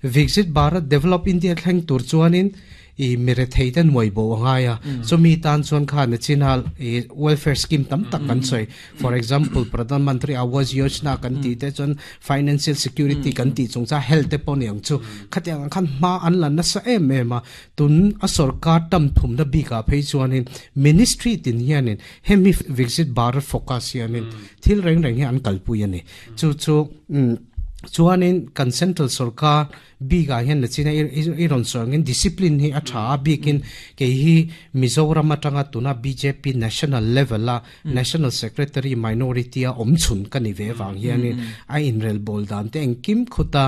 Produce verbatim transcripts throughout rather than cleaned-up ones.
Viksit Bharat develop India thleng tur chuanin i mere theiten moi bo anga ya chumi tan chuan kha na chinal i welfare scheme tam tak kan soi for example Pradhan Mantri Awas Yojana kan ti te chuan financial security kan ti chungcha health te pon yang chu khatiang khan ma an lan na sa em em a tun a sarkar tam thum na bi ka phei chuanin ministry tin hianin hemi Viksit Bharat focus hianin thil reng reng hi an kalpui ani chu chu chuanin kan central sarkar biga hian na china iron sawngin discipline hi a tha bikin ke hi Mizoram atanga tuna BJP national level la national secretary minority a omchun kani ve wang hianin a inrel bol dan te engkim khuta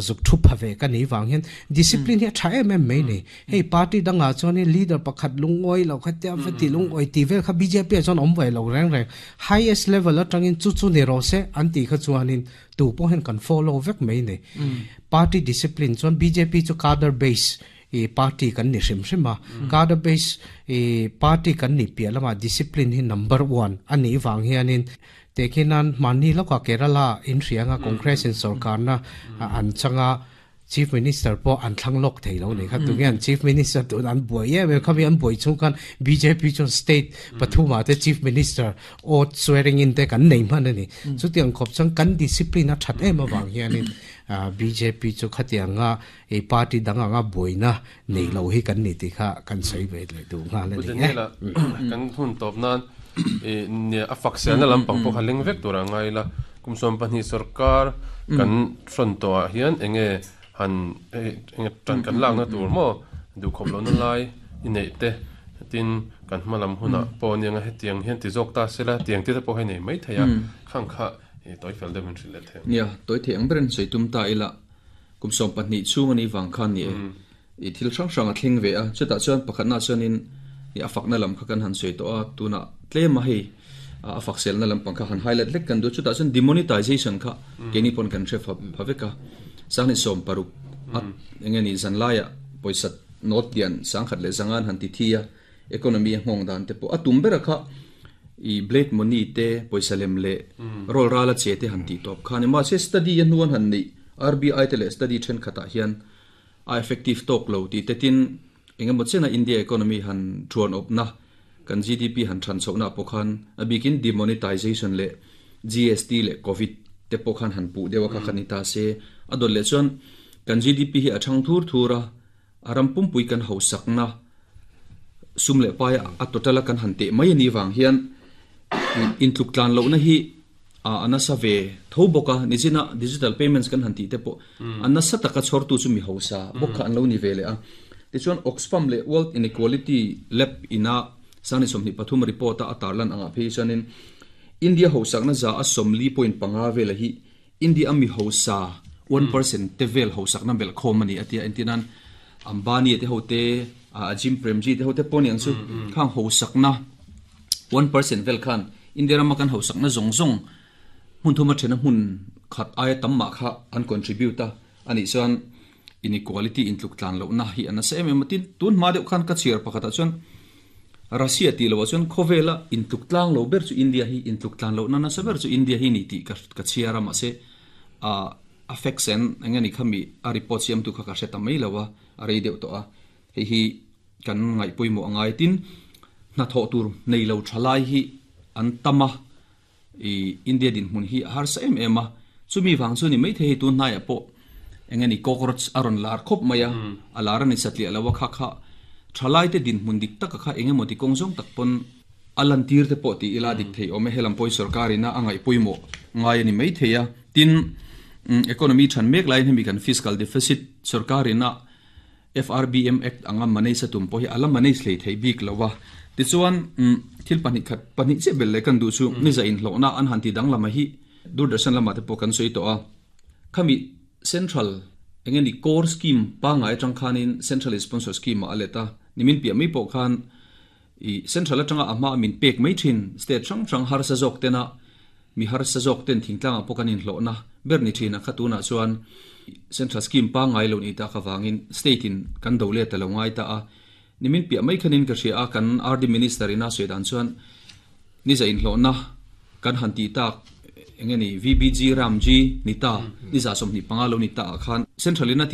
zuk thu phave kani wang hian discipline hi a tha em em mai ni hei party danga chuanin leader pakhat lungoi lo khatia fati lungoi ti vel kha BJP a chuan om vai lo reng reng highest level atangin chu chu ni ro se an ti kha chuanin tu pawh hian kan follow vek mai ni party discipline chuan BJP chu cadre base e party kan ni hrim hrima cadre base e party kan ni pia lama discipline hi number one ani wang hianin tekhinan mani loka Kerala in hrianga Congress in sarkar na an changa chief minister po an thlang lok thei lo ni kha tu ngian chief minister tu an boi ye me khami an boi chung kan BJP chon state pathuma te chief minister oath swearing in te kan nei man ani chu tiang khop chang kan discipline a that em awang hianin BJP chu khatianga e party danga nga boina nei lo hi kan ni ti kha kan sei ve le du nga le ni la kan hun top nan e ne a fak se na lampang po khaling vek tura ngai la kumsom pahnih sarkar kan front to a hian enge han enge tan kan lak na tur mo du khop lo na lai inei te tin kan hmalam huna po ni nga hetiang hian ti jok ta sela tiang te po he nei mai theya khang kha e toi fel de min rile the nia toi the ang beren soitum ta ila kumsom pahnih chung ani wang khan ni e thil hrang hrang a thleng ve a chuta chuan pakhat na chuanin i afak na lam kha kan han soi to a tuna tlema hei a fak sel na lampang kha han highlight lek kan du chuta chuan demonetization kha keni pon kan thre phaveka sangni som paruk at engeni zanlaya poisa not dian sangkhat le zangan han ti thia economy hong dan te po atum bera kha i blade money te poisa lem le rol rala che te han ti top khani ma se study yan nuan han ni RBI te le study then khata hian a effective tok lo ti te tin engemaw chena India economy han thuan op na kan G D P han than chona pokhan abikin demonetization le G S T le covid te pokhan han pu dewa kha khanita se adol le chuan kan G D P hi athang thur thura aram pum pui kan ho sakna sum le pa a total kan han te mai ni wang hian in tluk tlan lo na hi a anasa ve thoboka nijina digital payments kan han ti te po anasa taka chhor tu chu mi hosa bokha an lo ni vele a ti chuan Oxfam le World Inequality Lab ina sani somni pathum report a atarlan anga phe chuanin India hosakna za a somli point panga vela hi India mi hosa one percent te vel hosakna bel khomani atia entinan Ambani te hote Ajim Premji te hote poniang chu khang hosakna one percent vel khan India rama kan hosakna zong zong hun thuma thena hun khat ai tamma kha an contribute a ani chuan inequality in tluk tlan lo na hi ana se em em tin tun ma deuh khan ka chiar pakhata chuan Russia ti lo chuan khovela in tluk tlang lo ber chu India hi in tluk tlan lo na na sa ber chu India hi ni ti ka ka chiara ma se a affects en engani khami a report siam tu kha ka seta mai lawa a rei deuh to a hei hi kan ngai puimo angai tin na tho tur nei lo thalai hi an tama i India din hun hi har sa em em a chumi wang chu ni mai the hi tun nai po engani cockroach aron lar khop maya alara ni satli alawa kha kha thalai te din mun dik tak kha engemaw ti kongzong tak pon alan tir te po ti ila dik thei ome helam poi sarkarina angai puimo ngai ani mai theya tin economy than mek lai hemi kan fiscal deficit sarkarina F R B M Act anga manei satum po hi ala manei thlei thei bik lawa ti chuan thil pani khat pani che bel le kan du chu ni za in hlona an han ti dang lama hi Doordarshan lama te po kan soi to a khami central engeni core scheme pa ngai tang khanin central sponsor scheme a aleta nimin pia mi po khan i central atanga ama min pek mai thin state chang chang har sa jok tena mi har sa jok ten thingtlang a pokanin hlona berni thina khatuna chuan central scheme pa ngai lo ni ta ka wangin state in kan dole ta lo ngai ta a nimin pia mai khanin ka hria a kan R D minister ina sedan chuan ni za in hlona kan han ti tak engeni V B G Ramji nita ni za som ni panga lo ni ta khan central ina ti